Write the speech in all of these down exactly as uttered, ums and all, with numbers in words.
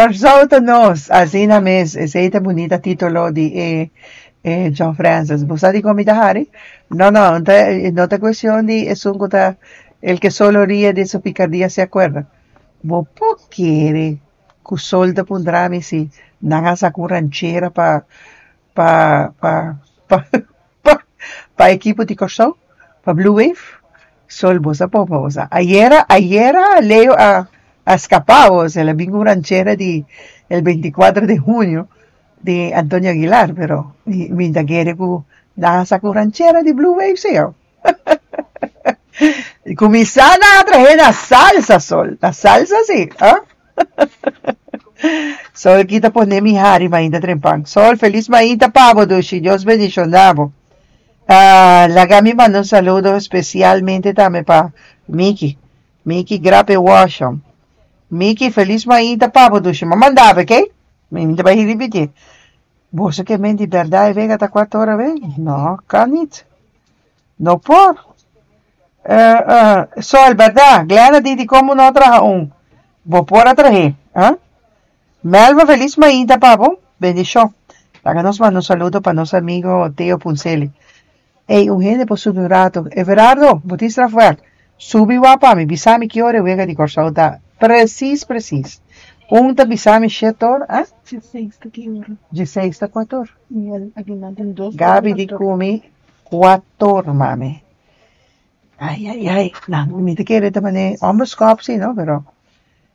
Kòrsou ta nos, asina mes, esei ta bunita título di eh, eh, John Francis. Bo sa dikon mi ta hari? No, no, no ta, no ta kuestion di esun ku ta el que solo ríe de su picardía se acuerda. Bo por kere ku Sol ta puntra mi si nan a saka un ranchera pa pa pa pa pa pa ekipo di Kòrsou, pa Blue Wave? Sol, bo sa popa, bo sa. Ayera, ayera Leo a, a skapa, el a bin un ranchera di el veinticuatro de junio di Antonio Aguilar, pero mi, mi ta kere ku nan a saka un ranchera di Blue Wave, sí. Kuminsá a traha na salsa, Sol. Na salsa, sí. Ah? Sol kita pone mi hari mainta trempan. Sol, felis mainta pa bo, dushi. Dios bendishoná bo. Uh, laga mi manda un saludo espesialmente tambe pa Miki. Miki Grape Washam. Miki, felis mainta pa bo, dushi. M'a manda, ok? Mi ta bai ripití. Boso ke men di bèrdat wega ta kuater or, be? No, kan niet. No por. Uh, uh, Sol, bèrdat? Glena di kon no traha un. Bo por a traha, ah? Melva, felis mainta pa bo. Bendishon. Laga nos manda un saludo pa nos amigu Teo Puncelli. Ei, un hende por subi un ratu. Everardo, bo tin strafwerk. Subi wak pa mi, bisa mi ki ora wega di Kòrsou ta. Presis, presis. Un ta bisa mi shete or, ah? Diesseis ta ki ora? Diesseis ta kuater. I aki nan tin dos. Gabi di ku mi kuater, mami. Ai, ai, ai. No, mi ta kere tambe onbeskòp, sí, no? Pero,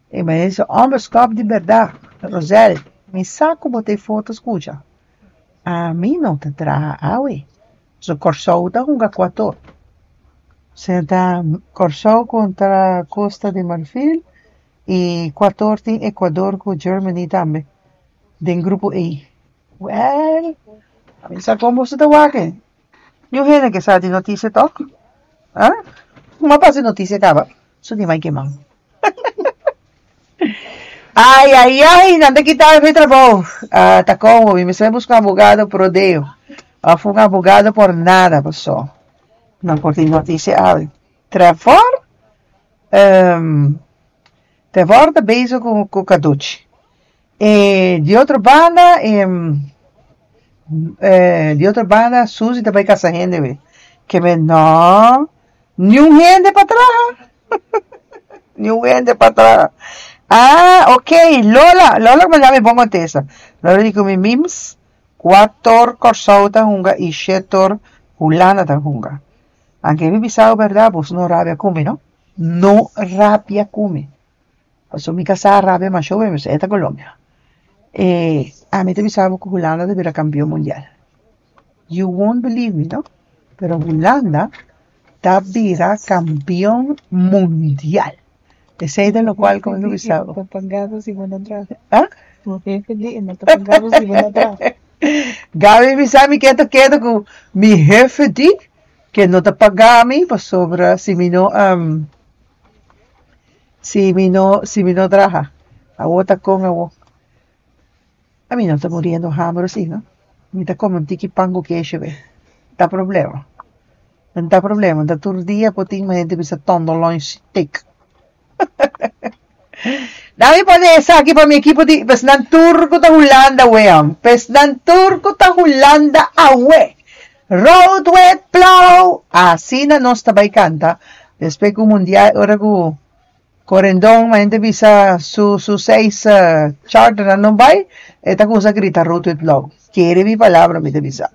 e mas onbeskòp di bèrdat. Rosel, mi sa ku bo tin foto, skucha. Ami no ta traha awe. So Kòrsou ta hunga kuater. Ta Kòrsou kontra Costa de Marfil i kuater tin Ecuador ku Germany tambe. Den grupo E. Well, ami sa kon bo ta wak. Niun hende ke sa di notisia toch? Ah? M'a pasa notisia kaba. So di mai man. Ai, ai, ai, nan ta kita mi trabou. Ah, ta kon, mi mester buska abogado pro deo. Òf un abogado por nada, pasó. No por tin notisia awe. Trevor, um, Trevor ta bezig ku ku Caducci. E di otro banda, um, eh, di otro banda, Suzy tambe kasa hende, be. Ke men no, niun hende pa traha. Niun hende pa traha. Ah, ok. Lola, Lola manda mi bon kontesta. Lola di ku mi mims, kuater Kòrsou ta hunga i shete or Hulanda ta hunga. Anke mi bisa bèrdat, bo no rabia ku mi, no? No rabia ku mi. Paso mi kasá rabia mas show, e ta Colombia. Eh, ami ta bisa ku Hulanda ta bira kampeon mundial. You won't believe me, no? Pero Hulanda ta bira kampeon mundial. Esei ta loke ku mi bisa. Ta pagado si bo no traha. Ah? O hefe di, no ta pagado si bo no traha. Gabi bisa mi ketu ketu ku mi hefe di ku no ta paga mi pasobra si mi no um, si mi no si mi no traha. Awo ta kon awo. Ami no ta muriendo hamber sí, no? Mi ta kome un tiki pan ku keshi be. Ta problema. No ta problema. Ta tur dia por tin hende bisa tenderloin steak. Dami pone esaki pa mi ekipo di esnan tur ku ta Hulanda we. Esnan tur ku ta Hulanda awe. Rood wit blauw. Asina nos ta bai kanta. Despues ku mundial, ora ku Corendon, hende bisa su su seis uh, charter no bai, e ta kuminsá grita "rood wit blauw". Kere mi palabra, mi ta bisa.